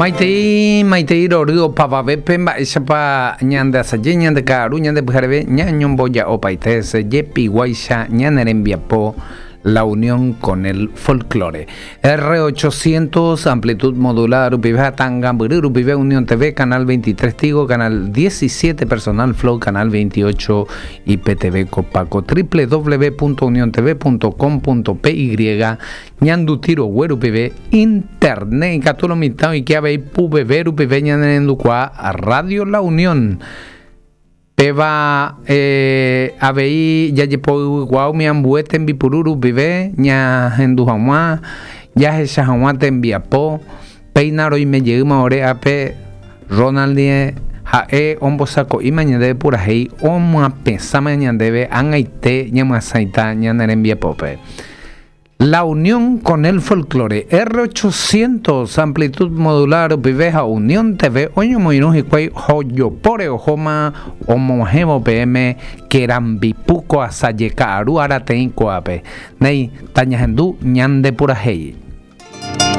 Maitei, maitei rory opavavépe mba'éichapa ñande asaje, ñande ka'aru, ñande pyhareve, ñañomboja'opaite hese jepiguáicha ñane rembiapo La Unión con el Folklore. R800, amplitud modulada rupive ha Tangambyry rupive Unión TV, Canal 23 Tigo, Canal 17 Personal Flow, Canal 28 IPTV Copaco, www.uniontv.com.py, Ñanduti rogue rupive, Internet ikatu lo mitã oike avei puveve rupive ñanerendukuaa Radio La Unión. Péva avei jajepoyvykuaa umi ambue tembipuru rupive ñahendu hag̃ua, jahecha hag̃ua tembiapo. Péina roime jeýma ore ápe Ronald ndive, ha'e ombosako'íma ñandéve purahéi omyapesãma ñandéve ag̃aite ñamyasãita ñane rembiapópe. La Unión con el Folklore, R800, amplitud modulada rupive ha Unión TV oñomoirũ hikuái hojopóre ohóma omog̃uahẽvo peẽme Kerambipu ko asaje ka'aru arateĩ ko'ápe. Néi, tañahendu ñande purahéi.